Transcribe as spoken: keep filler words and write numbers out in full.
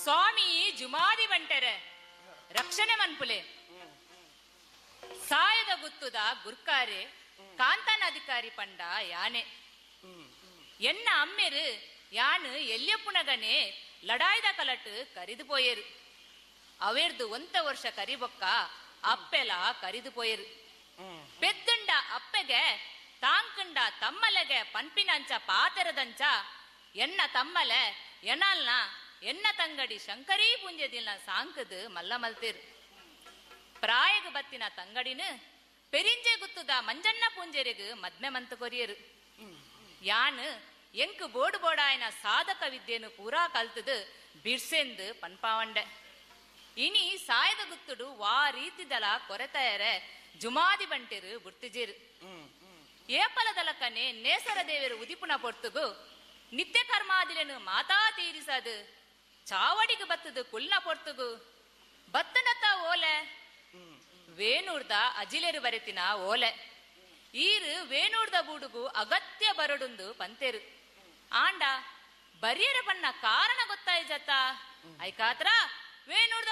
ಸ್ವಾಮಿ ಜುಮಾದಿ ಬಂಟೆರೆ ರಕ್ಷಣೆ ಮನ್ಪುಲೆ. ಸಾಯದ ಗುತ್ತುದ ಗುರ್ಕಾರೆ ಕಾಂತಾನ ಅಧಿಕಾರಿ ಪಂಡ ಯಾನೆ. ಎನ್ನ ಅಮ್ಮೆರು ಯಾನು ಎಲ್ಯಪ್ಪುನಗನೆ ಲಡಾಯ್ದ ಕಲಟ್ ಕರಿದು ಪೋಯೇರು. ಅವೇರ್ದು ಒಂತ ವರ್ಷ ಕರಿಬೊಕ್ಕ ಅಪ್ಪೆಲ ಕರಿದು ಪೋಯೇರು. ಪೆದ್ದುಂಡ ಅಪ್ಪೆಗೆ ತಾಂಕುಂಡ ತಮ್ಮಲೆಗೆ ಪನ್ಪಿನಂಚ ಪಾತೆರದಂಚ ಎನ್ನ ತಮ್ಮಲೆ ಎನಾಲ್ನ ಎನ್ನ ತಂಗಡಿ ಶಂಕರೀ ಪುಂಜದಿಲ್ನ ಸಾಂಕದು ಮಲ್ಲ ಮಲ್ತೇರು. ಪ್ರಾಯಗ ಬತ್ತಿನ ತಂಗಡಿನ ಪೆರಿಂಜೆ ಗುತ್ತುದ ಮಂಜಣ್ಣ ಪೂಂಜೆರೆಗ್ ಮದ್ಮೆ ಮಂತ ಕೊರಿಯರು. ಯಾನು ಎಂಕ್ ಬೋಡು ಬೋಡಾಯನ ಸಾಧಕ ವಿದ್ಯೆನು ಪೂರಾ ಕಲ್ತದು ಬಿರ್ಸೆಂದು ಪನ್ಪಾವಂಡೆ. ಇನಿ ಸಾಯದ ಗುತ್ತುಡು ವಾ ರೀತಿದಲ ಕೊರೆತಯರೆ ಜುಮಾದಿ ಬಂಟೆರು ಬುರ್ತಿಜೇರು. ಏಪಲದಲಕನೆ ನೇಸರ ದೇವರು ಉದಿಪುನ ಪೊರ್ತುಗು ನಿತ್ಯ ಕರ್ಮಾದಿಲೆನು ಮಾತಾ ತೀರಿಸದು ಚಾವಡಿಗೆ ಬತ್ತದು ಕುಲ್ನ ಪೊರ್ತುಗು ಬತ್ತನತ್ತ ಓಲೆ ವೇಣೂರ್ದ ಅಜಿಲೆರು ಬರೆತಿನ ಓಲೆ ಈರು ವೇಣೂರ್ದ ಬೂಡುಗು ಅಗತ್ಯ ಬರಡುಂದು ಪಂತೇರು. ಆಂಡ ಬರಿಯರ ಬಣ್ಣ ಕಾರಣ ಗೊತ್ತಾಯ್ಜತ್ತ ಐಕಾತ್ರ ವೇಣೂರ್ದ